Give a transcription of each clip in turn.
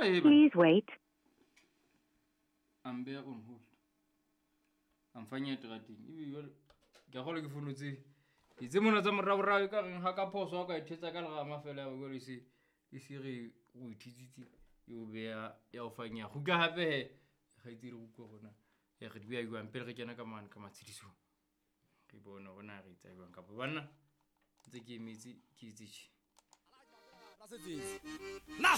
Jwale he Please wait. A mbeya on hold. A mfanya terateng. Ebe jwale ke a kgolwa ke fono tse tse mona tsa moraorao e ka reng ha ka phoso ha ka e thetsa ka lerama fela ya ba jwale e se re o e thetsitse e o beha ya o fanya. Kgutla hape he kgaitsedi re utlwe rona re di beha jwang pele re kena ka mane ka matshedisong. Re bone hore na re etsa jwang kapa banna ntse ke emetse ke etse tjhe. Na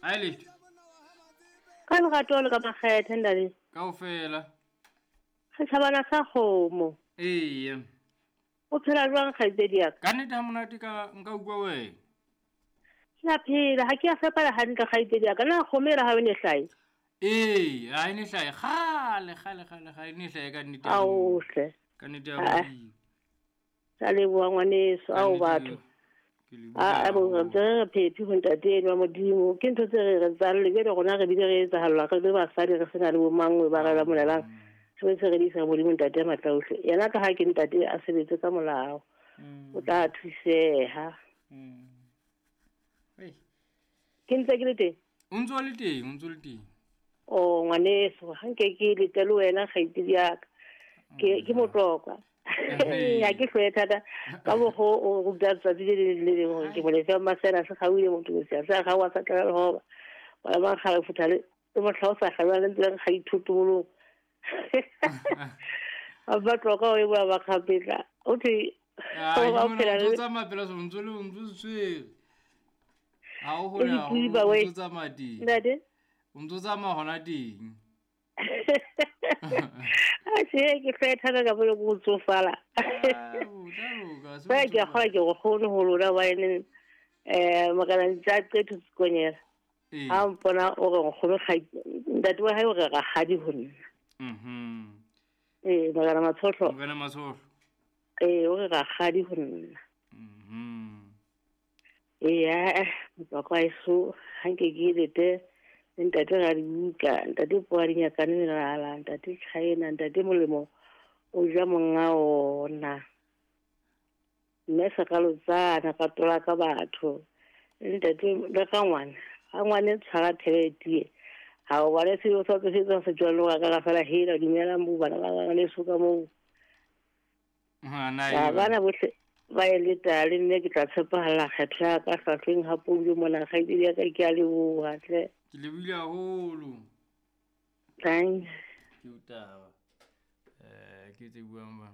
Ai letho. Ka lerato le ka makgethe ntate. Kaofela. Setjhabana sa kgomo. Eya. O phela jwang kgaitsedi ya ka? Ka nnete ha monate ka nka utlwa wena. Ke a phela, ha ke a fepala hantle kgaitsedi ya ka. Na kgomo ela ha o ne hlahe? Ee, ha e ne hlahe kgale kgale kgale kgale e ne hlahe ka nnete. Ao hle. Ka nnete ya Modimo. Ka leboha ngwaneso, ao batho. Ke leboha. A bo re re phephi ho ntate enwa wa Modimo. Ke ntho tse re re tsang le jwale rona re bile re etsahallwa re le basadi re sena le bo mangwe ba re lamolelang. Re se re di isa Modimo ntate ya matla ohle. Yena ka ha ke ntate a sebetse ka molao. O tla thuseha. Ke ntse ke le teng? O ntso le teng, o ntso le teng. O ngwaneso, ha nke ke lete le wena kgaitsedi ya ka. Ke motlokwa. Ha ke hloye thata ka mokgwa o ruta tsatsi le leng le leng hore ke molefe wa Masela se kgauhile motho o se sa kgaoha sa tlala lehoba. Bana ba kgale futha le mohla o sa kgalwa le ntse re kga dithotobolong. Ba batloka o e bua ba kgapetla. O thwe o phela le tsamaya pela so ntse le ntse tshwere. Ha o hole ha o ntse tsamaya teng. Ntate? O ntse tsamaya hona teng. A se ke hloye thata ka pele ko tsofala. Ba ke a kgolwa ke go kgone ho lona hobane morena ntse a qetho Sekonyela. Ha mpona o re nkgono ntate wa hae o re rakgadi ho nna. Ee, morena Matshohlo. Morena Matshohlo. Ee, o re rakgadi ho nna. Ee, motswako wa heso ha nke ke lete le ntate Radibuka, ntate Poadinyakane Melala, ntate China, ntate Molemo o ja monga ona. Mme Sekalotsana ka tola ka batho. Ntate le ka ngwana, ha ngwane tshwara thebe tie. Ha o bone seo sa tse se jwalo ka ka fela hela dumelang bo bana ba le so ka moo. Ha na bana bohle ba e leta le nne ke tla tshepahala kgetho ya ka hlahlweng ha poulo mona kgaitsedi ya ka ke a leboha tle. Ke lebohile haholo. Thanks. Ke o taba. Ke tse buang ba.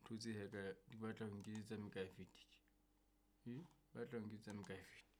Ntho tse heka di batla ho nketsetsa mekae fetile. Batla ho nketsetsa mekae fetile.